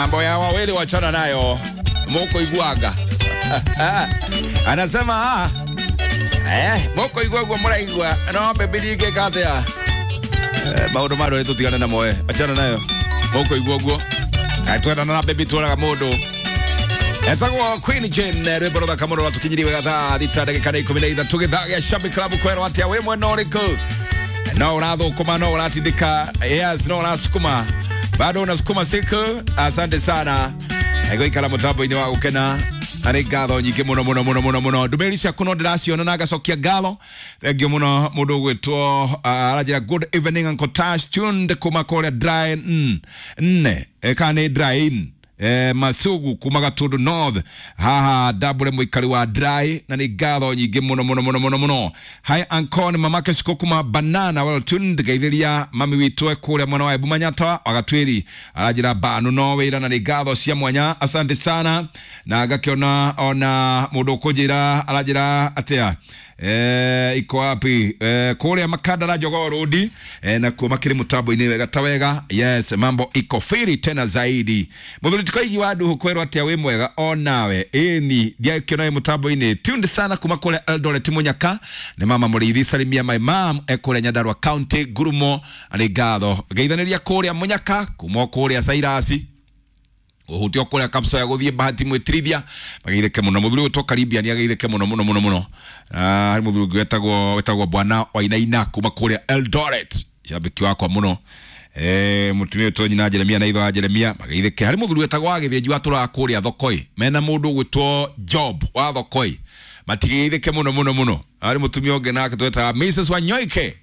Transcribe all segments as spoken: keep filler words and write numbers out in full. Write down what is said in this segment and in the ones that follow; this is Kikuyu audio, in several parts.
Mambo ya wawili wachana nayo, moko iguaga anasema ah, eh, moko iguagua muraigua no baby ndingĩka atĩa. Eh, maũndũ ma ndũ tũtigane namo, eh, achana nayo moko iguaguo kaĩ twendana na baby tworaga mũndũ. Etagwo Queen Jane, rwĩmbo rũthaka mũno rwatũkinyirie wega thaa thita ndagĩka nĩ ikũmi na ithatũ gĩthaa gĩa Shabby Club. Kwerwo atĩa wĩ mwena ũrĩkũ? No ũrathũkũma, no ũratindĩka, yes, no ũrasukuma, bado unasukuma siku. Asante sana gũikara mũtambo-inĩ wa gũkena na nĩ ngatho nyingĩ mũno mũno mũno mũno mũno. Ndũmĩrĩri ciaku no ndĩraciona na ngacokia ngatho. Thengiũ mũno. Mũndũ ũgwĩtwo uh, aranjĩra, "Good evening, Uncle Tash, tuned kuma kũrĩa dry mm, nne eh, kana nĩ dry in eh, Masugu kuma Gatundu North haha ndambũre mũikari wa dry na nĩ ngatho nyingĩ mũno mũno mũno mũno mũno. Hi uncle, nĩ mamake ciko kuma Banana, well tuned. Geithĩria mami witũ e kũrĩa mwena wa Embu Manyata wagatwĩri. Aranjĩra banu no wĩra na nĩ ngatho cia mwanya, asante sana. Na ngakĩona ona mũndũ ũkũnjĩra aranjĩra atĩa, eh, iko wapi, eh, kũrĩa Makandara Jogoo Road, eh, nakuo makĩrĩ mũtambo-inĩ wega ta wega. Yes, mambo iko firi tena zaidi. Mũthuri tikoigi wa nduhu, kwerwo atĩa, wĩ mwega onawe? Ĩni ndiakĩona wĩ mũtambo-inĩ, tuned sana kuma kũrĩa Eldoret Mũnyaka. Nĩ mama mũrĩithi, salimia my mom e kũrĩa Nyandarua County Ngurumo. Nĩ ngatho, ngeithanĩria kũrĩa Mũnyaka kuma o kũrĩa Cairasi ũhutio kũrĩa kapsa ya gũthiĩ Bahati mwĩtirithia mageithĩke mũno. Mũthuri ũyũ Karibia nĩ ageithĩke mũno mũno mũno mũno. Ah, harĩ mũthuri ũngĩ wetagwo wetagwo bwana Wainaina kuma kũrĩa Eldoret, shabiki wakwa mũno. Eh, mũtumia wĩtwo nyina Jeremia na ithe wa Jeremia mageithĩke. Harĩ mũthuri wetagwo wa Gĩthĩnji watũraga kũrĩa Thokoi mena mũndũ ũgwĩtwo Job wa Thokoi, matigeithĩke mũno mũno mũno. Harĩ mũtumia ũngĩ nake twetaga Missus Wanyoike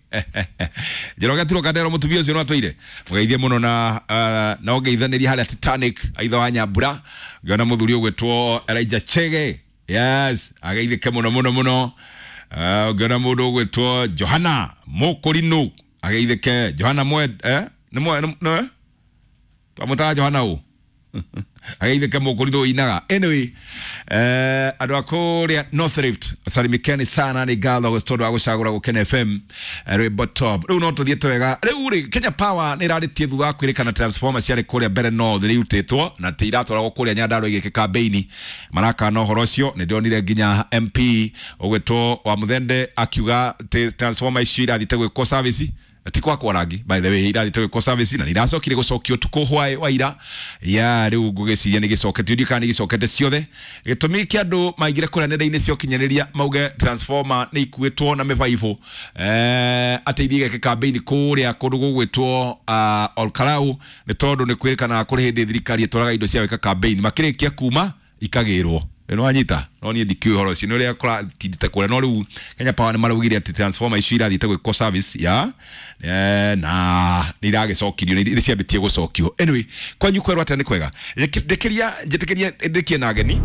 Njoroge Tiro Kandero, mũtumia ũcio no atwĩire mũgeithie mũno na uh, na ũngeithanĩria harĩa Titanic aitha wa Nyambura. Ngĩona mũthuri ũgwĩtwo Elijah Chege, yes, ageithĩke mũno mũno mũno. uh, ngĩona mũndũ ũgwĩtwo Johana Mũkũrinũ ageithĩke. Johana mwe eh nĩ mwe nĩ twamũtaga Johana ũ ageithĩke mũkũrinũ ũinaga. Anyway, eh, andũ a kũrĩa North Rift salimikeni sana, nĩ ngatho tondũ wa gũcagũra Gũkena F M. eh, rwĩmbo top. Rĩu no tũthiĩte wega. Rĩu rĩ, Kenya Power nĩ ĩrarĩtie thutha wa kwĩrĩkana transformer ciarĩ kũrĩa mbere North nĩ irutĩtwo na ti iratwaragwo kũrĩa Nyandarua igĩke kambĩini. Marakana ũhoro ũcio. Nĩ ndĩronire nginya M P ũgwĩtwo wa Mũthende akiuga atĩ transformer icio irathiĩte gwĩkwo service, ti kwakwo rangi, by the way, irathiĩte gwĩkwo service na nĩ iracokire gũcokio ũtukũ hwaĩ wa ira ya. Rĩu ngũgĩciria nĩ gĩcoketio, ndiũ kana nĩ gĩcokete ciothe. Gĩtũmi kĩa andũ maingĩre kũrĩa nenda-inĩ cia ũkinyanĩria mauge transformer nĩ ikuĩtwo na mĩbaibũ eh, atĩ ithiĩ igeke kambĩini kũrĩa kũndũ gũgwĩtwo uh, Olkarau nĩ tondũ nĩ kwĩrĩkanaga kũrĩ hĩndĩ thirikari ĩtwaraga indo cia gwĩka kambĩini makĩrĩkia kuma ikagĩrwo. Nĩ wanyita? No niĩ ndikĩũĩ ũhoro ũcio nĩ ũrĩa kũratindĩte kũrĩa, no rĩu Kenya Power nĩ maraugire atĩ transformer icio irathiĩte gwĩkwo service ya eh, na nĩ iragĩcokirio, nĩ ciambĩtie gũcokio. Anyway, kwanyu kwerwo atĩa? Nĩ kwega? Ndĩkĩria njĩtĩkĩrie ndĩkie na ageni.